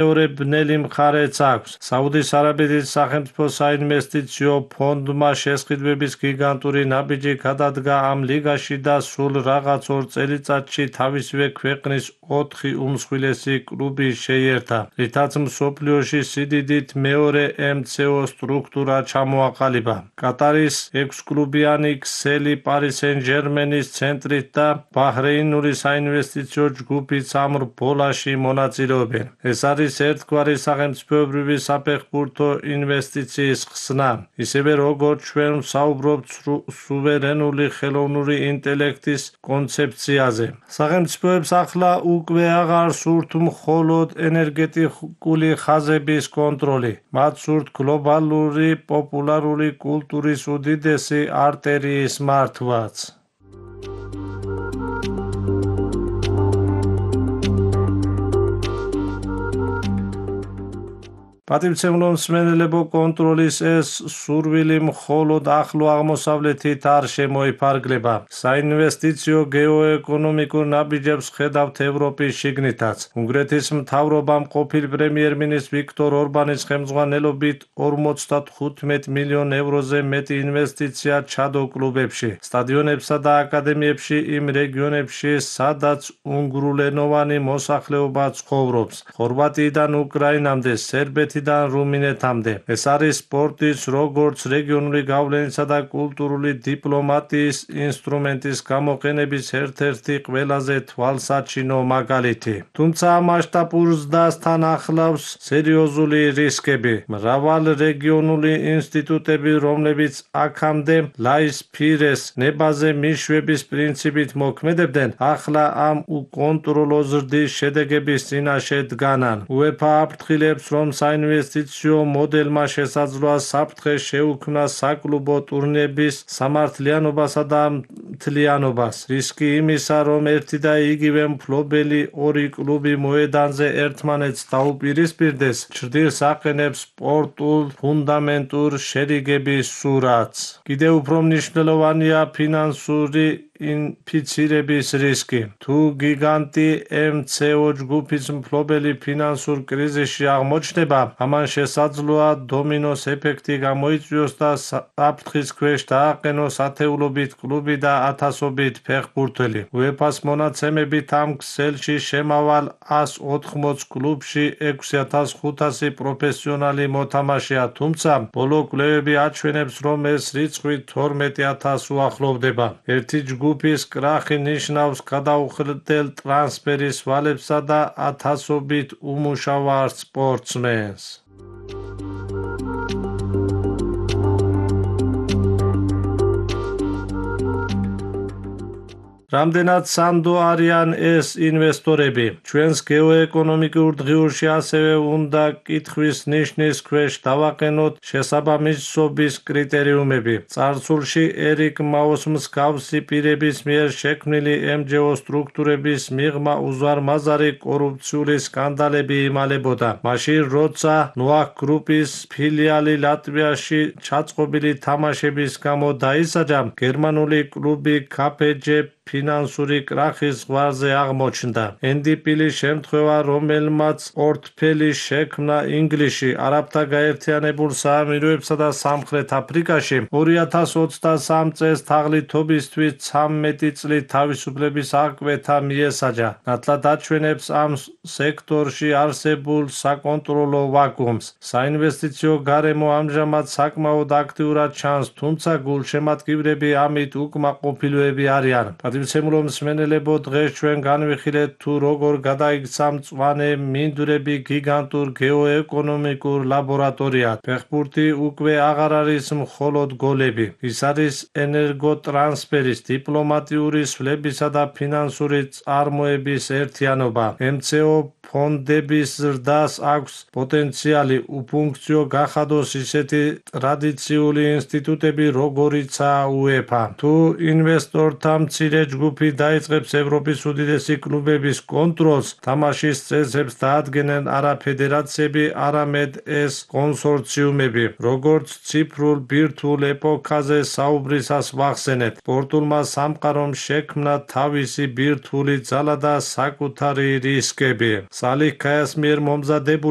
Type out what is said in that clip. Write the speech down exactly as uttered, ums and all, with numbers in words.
მეორე ბნელი მხარეც აქვს. საუდის არაბეთის სახელმწიფო საინვესტიციო ფონდმა შესყიდვების გიგანტური ნაბიჯი გადადგა ამ ლიგაში და სულ რაღაც ორ წელიწადში თავისივე ქვეყნის ოთხი უმსხვილესი კლუბი შეიერთა, რითაც მსოფლიოში სიდიდით მეორე ემცეო სტრუქტურა ჩამოაყალიბა. კატარის ექვსკლუბიანი ქსელი პარი სენ-ჟერმენის ცენტრით და ბაჰრეინული საინვესტიციო ჯგუფიც ამ რბოლაში მონაწილეობენ. ეს არის ერთგვარი სახელმწიფოებრივი საფეხბურთო ინვესტიციის ხსნა, ისევე როგორც ჩვენ ვსაუბრობთ სუვერენული ხელოვნური ინტელექტის კონცეფციაზე. სახელმწიფოებს ახლა უკვე აღარ სურთ მხოლოდ ენერგეტიკული ხაზების კონტროლი, მათ სურთ გლობალური პოპულარული კულტურის უდიდესი არტერიის მართვაც. პატივცემლო მსმენელებო, კონტროლის ეს სურვილი მხოლოდ ახლო აღმოსავლეთით არ შემოიფარგლება. საინვესტიციო გეოეკონომიკურ ნაბიჯებს ხედავთ ევროპის შიგნითაც. უნგრეთის მთავრობამ ყოფილ პრემიერ-მინისტრ ვიქტორ ორბანის ხელმძღვანელობით ორმოცდახუთმეტ მილიონ ევროზე მეტი ინვესტიცია ჩადო კლუბებში, სტადიონებსა და აკადემიებში იმ რეგიონებში, სადაც უნგრულენოვანი მოსახლეობა ცხოვრობს, ხორვატიიდან უკრაინამდე, სერბეთიდან რუმინეთამდე. ეს არის სპორტის, როგორც რეგიონული გავლენისა და კულტურული დიპლომატიის ინსტრუმენტის გამოყენების ერთ-ერთი ყველაზე თვალსაჩინო მაგალითი. თუმცა მასშტაბურ ზრდასთან ახლავს სერიოზული რისკები. მრავალ რეგიონული ინსტიტუტები, რომლებიც აქამდე ლაის-ფირეს ნებაზე მიშვების პრინციპით მოქმედებდნენ, ახლა ამ უკონტროლო ზრდის შედეგების წინაშე დგანან. უეფა აფრთხილებს, რომ საინვესტიციო მოდელმა შესაძლოა საფრთხე შეუქმნა საკლუბო ტურნირების სამართლიანობასა და მთლიანობას. რისკი იმისა, რომ ერთი და იგივე მფლობელი ორი კლუბი მოედანზე ერთმანეთს დაუპირისპირდეს, ჩრდილს აყენებს სპორტულ ფუნდამენტურ შერიგების სურათს. კიდევ უფრო მნიშვნელოვანია ფინანსური ინფიცირების რისკი. თუ გიგანტი ემცეო ჯგუფის მფლობელი ფინანსურ კრიზისში აღმოჩნდება, ამან შესაძლოა დომინოს ეფექტი გამოიწვიოს და საფრთხის ქვეშ დააყენოს ათეულობით კლუბი და ათასობით ფეხბურთელი. უეფას მონაცემებით ამ ქსელში შემავალ ას ოთხმოც კლუბში ექვსი ათას ხუთასი პროფესიონალი მოთამაშეა, თუმცა ბოლო კვლევები აჩვენებს, რომ ეს რიცხვი თორმეტ ათასს უახლოვდება. ერთი ჯგუფის კრახი ნიშნავს გადაუხდელ ტრანსფერის ვალებსა და ათასობით უმუშავა სპორტსმენს. რამდენად სანდო არიან ეს ინვესტორები? ჩვენს გეოეკონომიკურ დღიურში ასევე უნდა კითხვის ნიშნის ქვეშ დავაყენოთ შესაბამისობის კრიტერიუმები. წარსულში ერიკ მაოს მსგავსი პირების მიერ შექმნილი ემჯეო სტრუქტურების მიღმა უზარმაზარი კორუფციული სკანდალები იმალებოდა. მაშინ, როცა ნოაქ გრუპის ფილიალი ლატვიაში ჩაწყობილი თამაშების გამო დაისაჯა, გერმანული კლუბი კაფეჯე ფინანსური კრახის ზღვარზე აღმოჩნდა. ენდი პილის შემთხვევა, რომელმაც პორტფელი შექმნა ინგლისში, არაბთა გაერთიანებულ საამიროებსა და სამხრეთ აფრიკაში, ორი ათას ოცდასამ წელს თაღლითობისთვის ცამეტი წლით თავისუფლების აღკვეთა მიესაჯა. ნათლად აჩვენებს ამ სექტორში არსებულ საკონტროლო ვაკუუმს. საინვესტიციო გარემო ამჟამად საკმაოდ აქტიურად ჩანს, თუმცა გულშემატკივრები ამით უკმაყოფილოები არიან. პატივცემულო მსმენელებო, დღეს ჩვენ განვიხილეთ თუ როგორ გადაიქცა მწვანე მინდვრები გიგანტურ გეოეკონომიკურ ლაბორატორიად. ფეხბურთი უკვე აღარ არის მხოლოდ გოლები. ის არის ენერგოტრანსფერის, დიპლომატიური სვლებისა და ფინანსური წარმოების ერთიანობა. ემცეო ფონდების ზრდას აქვს პოტენციალი უფუნქციო გახადოს ისეთი ტრადიციული ინსტიტუტები, როგორიცაა უეფა. თუ ინვესტორთა მცირე ჯგუფი დაიწყებს ევროპის უდიდესი კლუბების კონტროლს, თამაშის წესებს დაადგენენ არა ფედერაციები, არამედ ეს კონსორციუმები. როგორც ციფრულ ბირთვულ ეპოქაზე საუბრისას ვახსენეთ, სპორტულმა სამყარომ შექმნა თავისი ბირთვული ძალა და საკუთარი რისკები. სალიხ ქაიას მიერ მომზადებული